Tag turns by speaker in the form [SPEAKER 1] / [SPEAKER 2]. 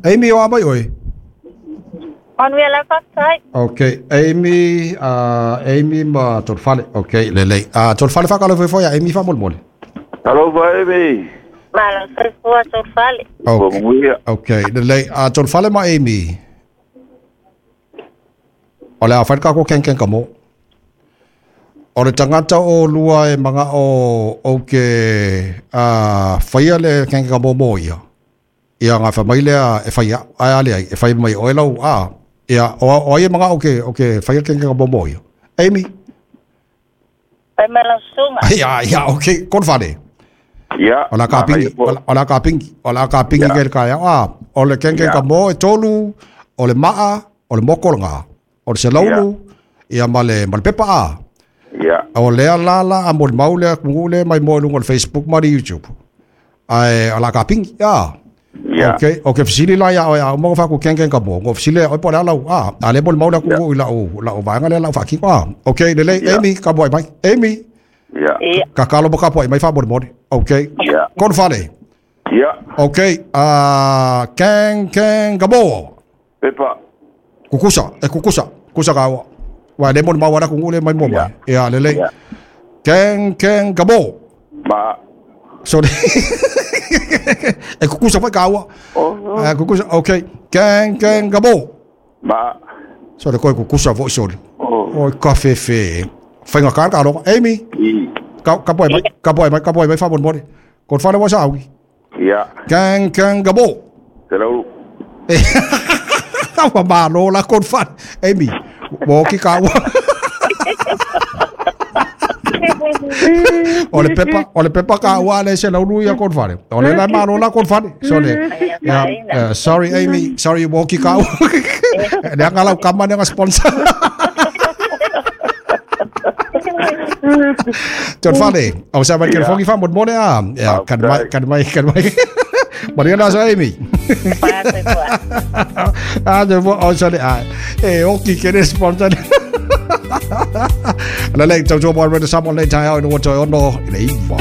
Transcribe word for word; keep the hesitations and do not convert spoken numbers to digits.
[SPEAKER 1] Amy o a mai oe.
[SPEAKER 2] Manuia la faafetai.
[SPEAKER 1] Okay, Amy, uh, Amy ma Tolfale. Okay, lelei. Uh, Tolfale faakalofa ifo ia Amy faamolemole.
[SPEAKER 3] Alofa Amy.
[SPEAKER 2] Malo soifua Tolfale.
[SPEAKER 1] Okay.
[SPEAKER 3] Manuia.
[SPEAKER 1] Okay, lelei. Uh, Tolfale ma Amy. O le a fai le kako kenkeng ka mo. O le tagata o lua e maga o o ke uh, faia le kenkeng ka mo mo ia. Ia ngā whamai lea e whai ai ale ai, e whai mai o e lau a. Ia, o, o ai e maga o ke, o ke whaia kenkeng ka mo mo ia. Amy?
[SPEAKER 2] Fai mai lau susuga.
[SPEAKER 1] Ia, ia, okay, Korofale.
[SPEAKER 3] Ia.
[SPEAKER 1] O la ka pingi, o la ka pingi, o la ka pingi ke le kai a. O le kenkeng ka mo e tolu, o le maa, o le moko nga. O le selaulu, ia ma le, ma le pepa a.
[SPEAKER 3] Ia.
[SPEAKER 1] O lea la la a mo le mau lea kungu le mai mo lunga o le Facebook ma le YouTube. Ai, o la ka pingi, ia.
[SPEAKER 3] Ia.
[SPEAKER 1] Okay, o ke fesili la ia o ia mo fa ku kenkeng ka mo. Ngo fesili o po le lau a. A le mo le mau lea kungu i lau lau vaega lea lau faakino a. Okay, lelei
[SPEAKER 3] Ia.
[SPEAKER 1] Amy ka mo ai mai. Amy.
[SPEAKER 3] Ia.
[SPEAKER 2] Ia.
[SPEAKER 1] Ka kalo mo ka po ai mai fa mo le mo. Okay.
[SPEAKER 3] Ia.
[SPEAKER 1] Korofale.
[SPEAKER 3] Ia.
[SPEAKER 1] Okay, uh, keng keng ka mo.
[SPEAKER 3] Pepa.
[SPEAKER 1] Kukusa, e kukusa, kusa ka wa. Wa le mo le mau ala kungu le mai mo mai. Ia lelei.
[SPEAKER 3] Ia.
[SPEAKER 1] Keng keng ka mo.
[SPEAKER 3] Ma.
[SPEAKER 1] Sorry. E kukusa foi ka wa.
[SPEAKER 3] Oh.
[SPEAKER 1] Eh kukusa, okay. Keng keng ka mo.
[SPEAKER 3] Ma.
[SPEAKER 1] Sorry, koe kukusa foi sorry.
[SPEAKER 3] Oh.
[SPEAKER 1] Oi ka fefe. Whainga ka ka alofa. Amy,
[SPEAKER 3] I.
[SPEAKER 1] ka ka poe mai, ka poe mai, ka poe mai fa mo mo. Ko whare wa sa auki.
[SPEAKER 3] Ia.
[SPEAKER 1] Keng keng ka mo.
[SPEAKER 3] Selaulu.
[SPEAKER 1] Ua malo la kon whare. Amy, mo ki ka ua. O le pepa, o le pepa ka ua le se laulu ia kon whare. O le la malo la kon whare. So le, yeah, uh, sorry Amy, sorry mo ki ka ua. Le anga lau kama ne nga sponsor. Ton whare, o sa mai ke fongi fa mo mo le a. Ya, kan mai, kan mai, kan mai. Maria la sa Amy.
[SPEAKER 2] Pa soifua.
[SPEAKER 1] Ah, de vo o sa le a. E oki ke le sponsor. La le tau tau mo re sa mo le tai au no to ono le iwa.